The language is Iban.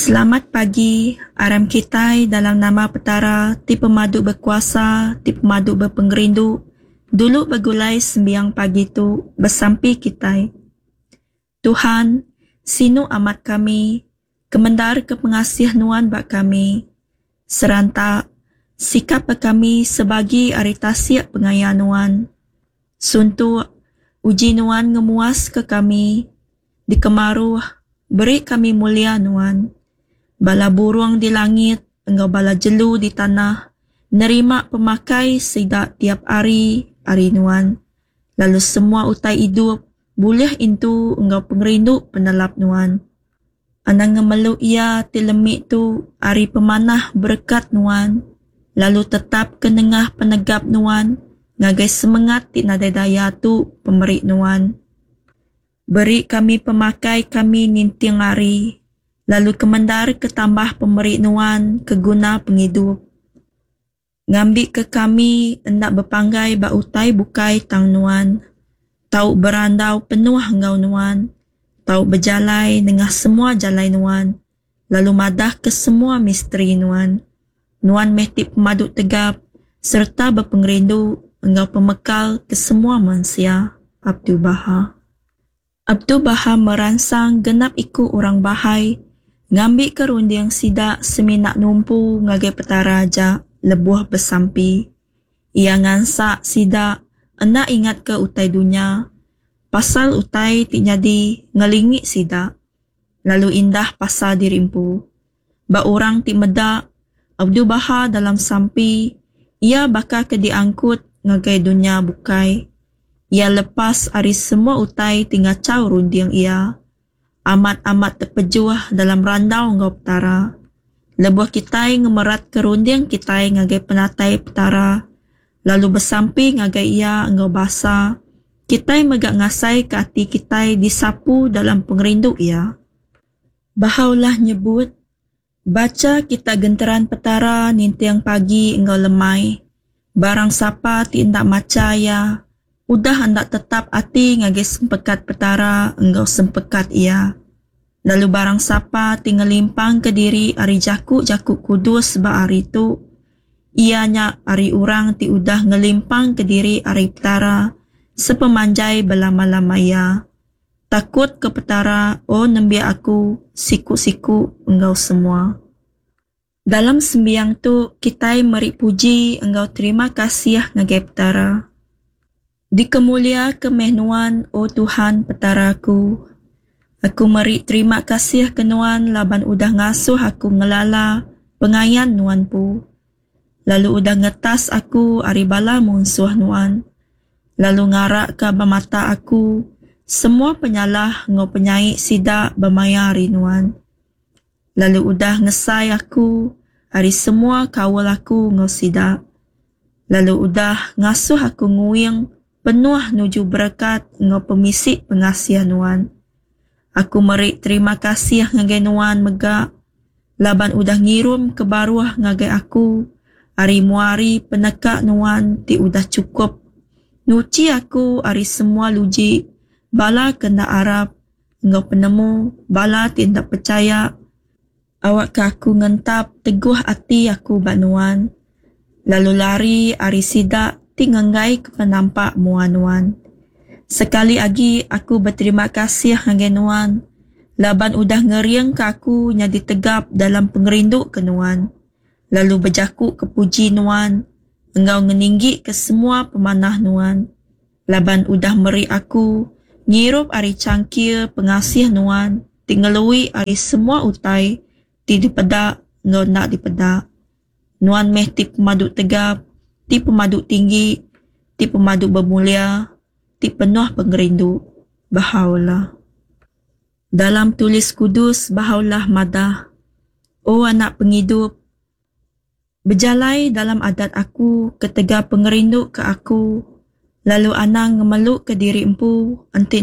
Selamat pagi, aram kitai dalam nama Petara ti pemadu bekuasa, ti pemadu bepengerindu, dulu begulai sembiang pagi tu, besampi kitai. Tuhan, sinu amat kami, kemendarka pengasih Nuan ba kami. Seranta, sikapka kami sebagi ari tasik pengaya Nuan. Suntuk, uji Nuan ngemuaska kami. Dikemaruh, beri kami mulia Nuan. Bala burung di langit enggau bala jelu di tanah nerima pemakai sida tiap hari ari Nuan, lalu semua utai idup bulih intu enggau pengerindu penelap Nuan. Anang ngemelu iya ti lemi tu ari pemanah berekat Nuan, lalu tetapka nengah penegap Nuan ngagai semengat ti nadai daya tu pemeri Nuan. Beri kami pemakai kami ninting hari, lalu kemendarka tambah pemeri Nuan ke guna pengidup. Ngambika kami enda bepanggai ba utai bukai tang Nuan, tau berandau penuh enggau Nuan, tau bejalai nengah semua jalai Nuan, lalu madahka semua misteri Nuan. Nuan meh ti pemadu tegap sereta bepengerindu enggau pemekal ke semua mensia. Abdu'l-Bahá. Abdu'l-Bahá meransang genap iku orang Bahá'í ngambika runding sida semina numpu ngagai Petara aja lebuh besampi. Iya ngansak sida enda ingatka utai dunya, pasal utai ti nyadi ngelingi sida, lalu indah pasal diri empu. Ba orang ti meda Abdu'l-Bahá dalam sampi, iya baka ke diangkut ngagai dunya bukai. Iya lepas ari semua utai ti ngachau runding iya. Amat-amat tepejuh dalam randau enggau Petara. Lebuh kitai ngemeratka runding kitai ngagai penatai Petara lalu besampi ngagai Iya enggau basa, kitai mega ngasaika ati kitai disapu dalam pengerindu Iya. Baha'u'llah nyebut, Bacha kita genteran Petara ninting pagi enggau lemai. Barang sapa ti enda macha iya, udah enda tetap ati ngagai sempekat Petara enggau sempekat Iya. Lalu barang sapa ti ngelimpangka diri ari jaku-jaku kudus ba hari tu, iya nya ari orang ti udah ngelimpangka diri ari Petara sepemanjai belama-lama iya. Takut ke Petara, O nembiak Aku, siku-siku enggau semua. Dalam sembiang tu kitai meri puji enggau terima kasih ngagai Petara. Dikemuliaka meh Nuan, O Tuhan Petara aku. Aku meri terima kasih ke Nuan laban udah ngasuh aku ngelala pengayan Nuan empu, lalu udah ngetas aku ari bala munsuh Nuan. Lalu ngaraka ba mata aku semua penyalah enggau penyai sida ba maya hari Nuan. Lalu udah ngesai aku ari semua kaul aku enggau sida. Lalu udah ngasuh aku nguing penuh nuju berekat enggau pemisi pengasih Nuan. Aku meri terima kasih ngagai Nuan mega laban udah ngirum ke baruh ngagai aku ari muari peneka Nuan ti udah chukup nuchi aku ari semua luji bala ke enda arap enggau penemu bala ti enda pechaya, awakka aku ngentap teguh ati aku ba Nuan, lalu lari ari sida ti ngenggaika penampak mua Nuan. Sekali agi aku beterima kasih ngagai Nuan laban udah ngeringka aku nyadi tegap dalam pengerindu ke Nuan, lalu bejaku ke puji Nuan enggau ngeninggika semua pemanah Nuan, laban udah meri aku ngirup ari changkir pengasih Nuan ti ngelui ari semua utai ti dipeda enggau enda dipeda. Nuan meh ti pemadu tegap, ti pemadu tinggi, ti pemadu bemulia, ti penuh pengerindu. Baha'u'llah. Dalam Tulis Kudus, Baha'u'llah madah, O anak pengidup, bejalai dalam adat Aku ketegal pengerindu ke Aku, lalu anang ngemeluka diri empu enti.